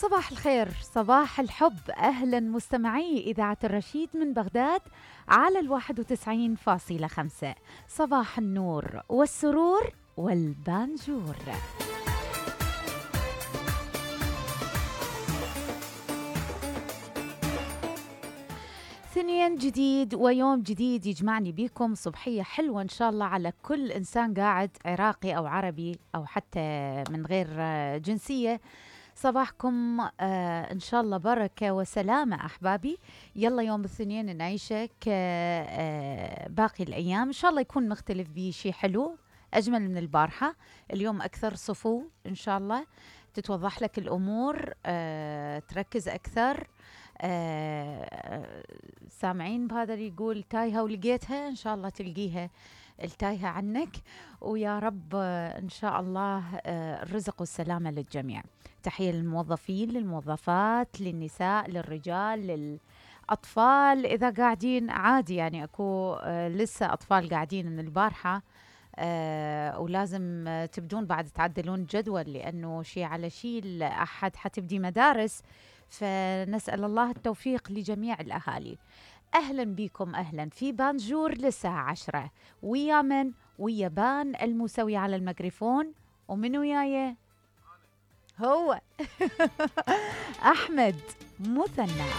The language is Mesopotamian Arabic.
صباح الخير، صباح الحب، أهلا مستمعي إذاعة الرشيد من بغداد على 91.5. صباح النور والسرور والبانجور. ثنين جديد ويوم جديد يجمعني بيكم، صبحية حلوة إن شاء الله على كل إنسان قاعد، عراقي أو عربي أو حتى من غير جنسية. صباحكم إن شاء الله بركة وسلامة أحبابي. يلا يوم الاثنين نعيشه كباقي الأيام، إن شاء الله يكون مختلف بشي حلو أجمل من البارحة. اليوم أكثر صفو إن شاء الله، تتوضح لك الأمور، تركز أكثر. سامعين بهذا اللي يقول تايهة ولقيتها؟ إن شاء الله تلقيها التايهة عنك، ويا رب إن شاء الله الرزق والسلامة للجميع. تحية للموظفين، للموظفات، للنساء، للرجال، للأطفال إذا قاعدين عادي، يعني أكو لسه أطفال قاعدين من البارحة، ولازم تبدون بعد تعدلون جدول لأنه شيء على شيء الأحد حتبدي مدارس، فنسأل الله التوفيق لجميع الأهالي. أهلا بكم، أهلا في بانجور للساعة 10، ويا من؟ ويا بان الموسوي على الميكروفون، ومن وياي هو أحمد مثنى.